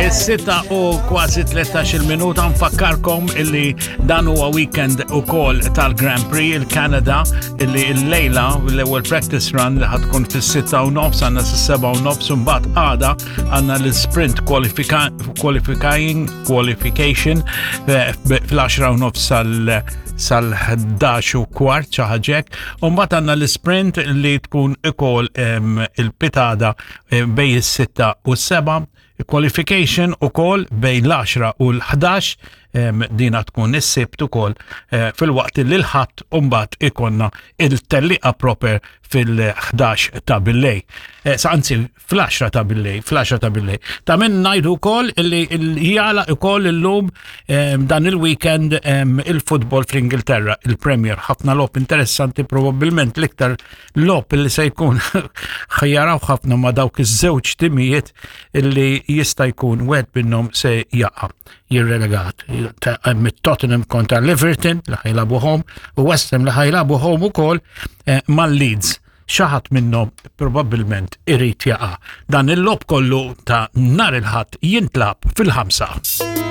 Is-sitta u kważi 13 minuta nfakkarkom illi dan huwa weekend ukoll tal-Grand Prix il-Kanada illi l-lejla l-ewwel practice run li ħatkun fis-sitta u nofs għandna s-seba u nofs u mbagħad għada għandna l-sprint qualifying qualification eh, fl-10 u nofs sal sal-11 u kwart xi ħaġa hekk. U mbagħad għandna l-sprint li tkun ukoll il-pitada eh, bej is-sitta u s-seba, qualification ukoll bejn l-10 u l-11 dina tkun is-sibt ukoll eh, fil-waqt li l-ħadd mbagħad ikonna il-telliqa proper fil-11 ta' billej. Eh, sa anzi fl-10 ta' billej, fl-10 ta' billej. Ta' minn ngħidu wkoll li jala ukoll illum dan il-weekend il-futbol fl-Ingilterra, il-Premier, ħafna logħob interessanti probabbilment l-iktar logħob li se jkun ħajjaraw ħafna ma' dawk iż-żewġ timijiet illi jista' jkun wieħed minnhom se jaqa' jirrelegat. Mit-Tottenham kontra l-Everton li ħajlabu home u West Ham li ħajlabu home ukoll eh, mal-Leeds. Xi ħadd minnhom probabbilment irid jaqa'. Dan il-logħob kollu ta' nhar il-Ħadd jintlagħab fil-ħamsa.